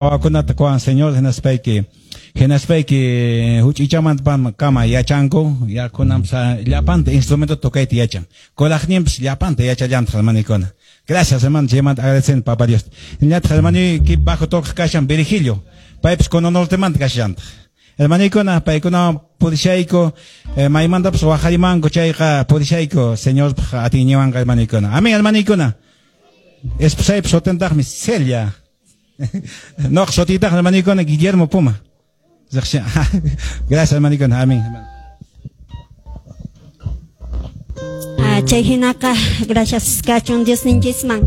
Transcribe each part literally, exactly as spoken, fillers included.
Wawakunata kuwan Señor hinaspayki hinaspayki huch'uychamanta kama yachanku yakunamsa llapanta instrumento tocayta yachan kuraqninpas llapanta yachallantaq hermanikuna. Gracias, hermano, chaymanta agradecen Papa Dios. Ñataq hermanuyki bajo tocaq kashan Virgilio, paypas Cono Nortemanta kashallantaq. Hermanikuna, paykunawan purishayku, eh, maymantapas waqarimanku chayqa purishayku Señorpaq atiyninwanqa, hermanikuna. Amén, hermanikuna. Esposaypas sutintaqmi Celia. Noq sutiytaq, hermanikuna, Guillermo Puma. Gracias, hermanikuna. Amén. Ah, chay hinaqa, gracias kachun Diosninchisman.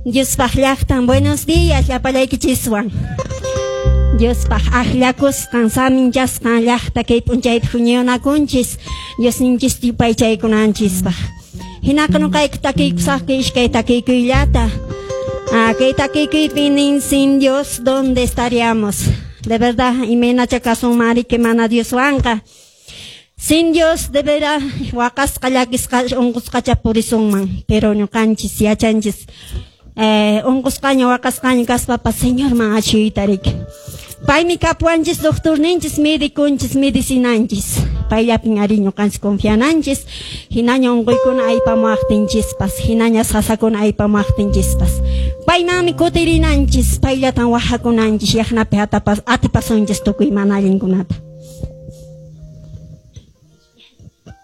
Diospaq llaqtan, buenos días llapallaykichiswan. Diospaq akllakusqan, saminchasqan llaqta kay p'unchaypi huñunakunchis, Diosninchis yupaychaykunanchispaq. Hinaqa nuqayku takiykusaqku iskay takiykuyllata. Ah, kay takiykuypi nin, sin Dios, ¿dónde estaríamos? De verdad, imaynacha kasunman que mana Dioswanqa. Sin Dios, de verdad, waqasqa llakisqa unqusqacha purisunman, pero ñuqanchis yachanchis eh, unqusqaña waqasqaña kaspapas Señorman achuyta riki. Paymi kapuwanchis doctorninchis, mediconchis, medicinanchis. Payllapin ari ñuqanchis confiananchis, hinaña unquykuna aypamuwaqtinchispas, hinaña sasakuna aypamuwaqtinchispas. Paymanmi kutirinanchis, payllatan wahakunanchis, yaqnapi atapas, atipasunchis tukuy mana allinkunata.